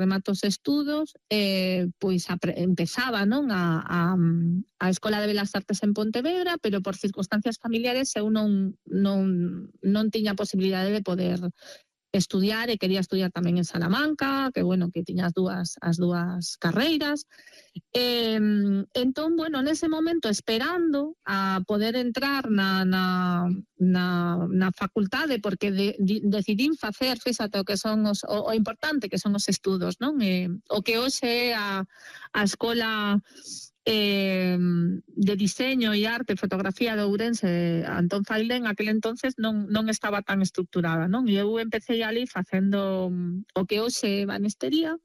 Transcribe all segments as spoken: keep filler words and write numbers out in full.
remato os estudos, eh, pois apre- empezaba, non, a, a, a Escola de Belas Artes en Pontevedra, pero por circunstancias familiares eu non, non, non tiña posibilidade de poder estudiar e quería estudiar tamén en Salamanca, que bueno, que tiña as dúas, as dúas carreiras. Eh, entón, bueno, nese momento, esperando a poder entrar na, na, na, na facultade, porque de, de, decidín facer, fíxate, o que son os, o, o importante que son os estudos, non? Eh, o que hoxe é a, a escola eh, de diseño e arte e fotografía de Ourense, Antón Failde, en aquel entonces non, non estaba tan estructurada, non? E eu empecé ali facendo o que hoxe é banistería.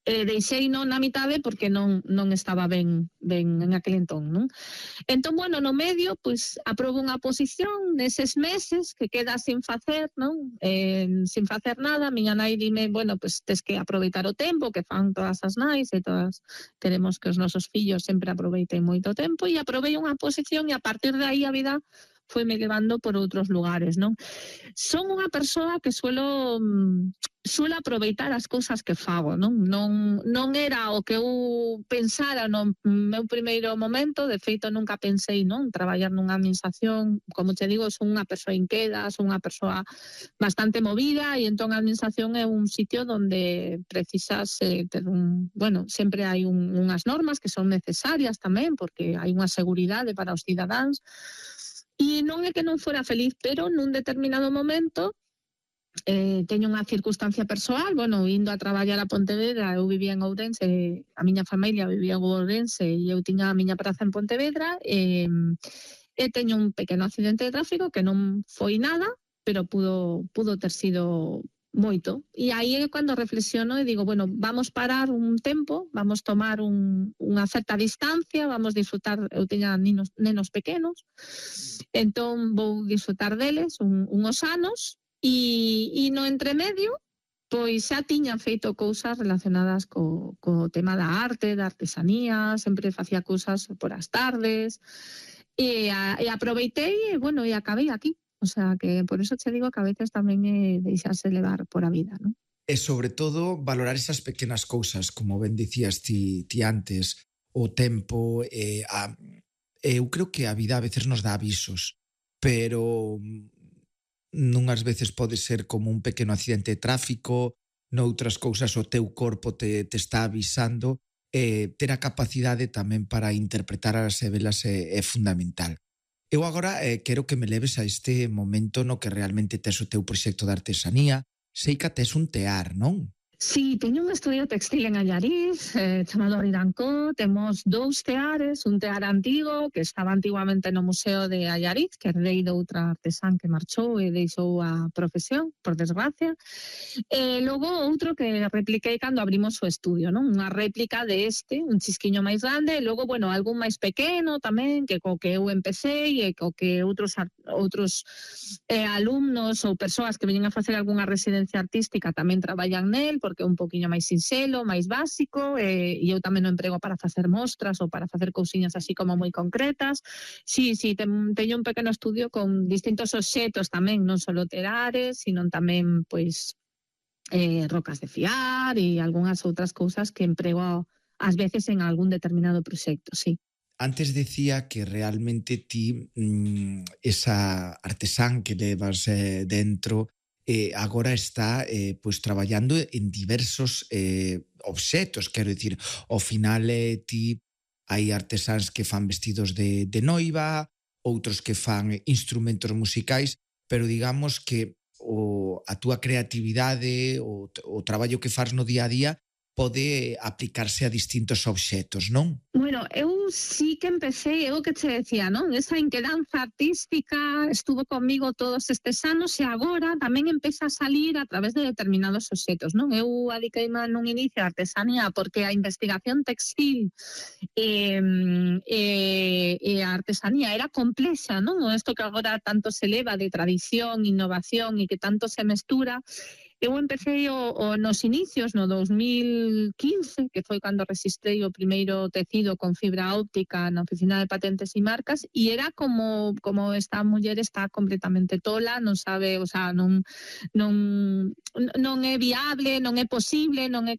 Eh, deixei non na mitade porque non, non estaba ben, ben en aquel entón, non? Entón, bueno, no medio, pois, aprobo unha posición neses meses que queda sin facer, non? Eh, sin facer nada, miña nai dime, bueno, pois, tes que aproveitar o tempo, que fan todas as nais e todas, queremos que os nosos fillos sempre aproveiten moito tempo, e aprovei unha posición e a partir de aí a vida foi me levando por outros lugares, non? Son unha persoa que suelo... suelo aproveitar as cousas que fago, non? Non, non era o que eu pensara no meu primeiro momento, de feito nunca pensei, non, traballar nunha administración, como te digo, son unha persoa inqueda, son unha persoa bastante movida e entón a administración é un sitio onde precisas eh, ter un, bueno, sempre hai un, unhas normas que son necesarias tamén porque hai unha seguridade para os cidadáns e non é que non fora feliz, pero nun determinado momento Eh, teño unha circunstancia persoal, bueno, indo a traballar a Pontevedra, eu vivía en Ourense, a miña familia vivía en Ourense e eu tiña a miña praza en Pontevedra e, e teño un pequeno accidente de tráfico que non foi nada, pero pudo, pudo ter sido moito. E aí é cando reflexiono e digo, bueno, vamos parar un tempo, vamos tomar un, unha certa distancia, vamos disfrutar, eu tiña ninos, nenos pequenos, entón vou disfrutar deles un, unhos anos. E, e no entremedio, pois xa tiña feito cousas relacionadas co, co tema da arte, da artesanía, sempre facía cousas por as tardes, e, a, e aproveitei, e, bueno, e acabei aquí. O sea, que por eso te digo que a veces tamén é deixarse levar por a vida, non? E sobre todo, valorar esas pequenas cousas, como ben dicías ti, ti antes, o tempo, eh, a, eu creo que a vida a veces nos dá avisos, pero nunhas veces pode ser como un pequeno accidente de tráfico, noutras cousas o teu corpo te, te está avisando, e ter a capacidade tamén para interpretar as velas é, é fundamental. Eu agora eh, quero que me leves a este momento no que realmente tes o teu proxecto de artesanía. Sei que tes un tear, non? Sí, teño un estudio textil en Allariz, eh, chamado Ridancó. Temos dous teares, un tear antigo que estaba antiguamente no Museo de Allariz, que herdei de outra artesán que marchou e deixou a profesión, por desgracia. E logo outro que repliquei cando abrimos o estudio, non? Unha réplica de este, un chisquiño máis grande, e logo, bueno, algún máis pequeno tamén, que co que eu empecé e co que outros outros eh, alumnos ou persoas que veñen a facer algunha residencia artística tamén traballan nel, porque é un poquinho máis sinxelo, máis básico, e, e eu tamén o emprego para facer mostras ou para facer cousiñas así como moi concretas. Sí, sí, ten, teño un pequeno estudio con distintos obxetos tamén, non só telares, sino tamén, pois, eh, rocas de fiar e algunhas outras cousas que emprego ás veces en algún determinado proxecto, sí. Antes decía que realmente ti, mmm, esa artesán que levas eh, dentro, eh, agora está eh, pues, traballando en diversos eh, obxetos, quero dicir, ao final eh, ti hai artesáns que fan vestidos de, de noiva, outros que fan instrumentos musicais, pero digamos que o, a túa creatividade, o, o traballo que faz no día a día pode aplicarse a distintos obxetos, non? Bueno, eu sí que empecé, eu que te decía, non? Esa inquedanza artística estuvo comigo todos estes anos e agora tamén empeza a salir a través de determinados obxetos, non? Eu adiqueime nun inicio a artesanía porque a investigación textil e, e, e a artesanía era complexa, non? Isto que agora tanto se leva de tradición, innovación e que tanto se mestura. Eu empecé o, o nos inicios, no dos mil quince, que foi cando registrei o primeiro tecido con fibra óptica na Oficina de Patentes e Marcas, e era como como esta muller está completamente tola, non sabe, o sea, non non non é viable, non é posible, non é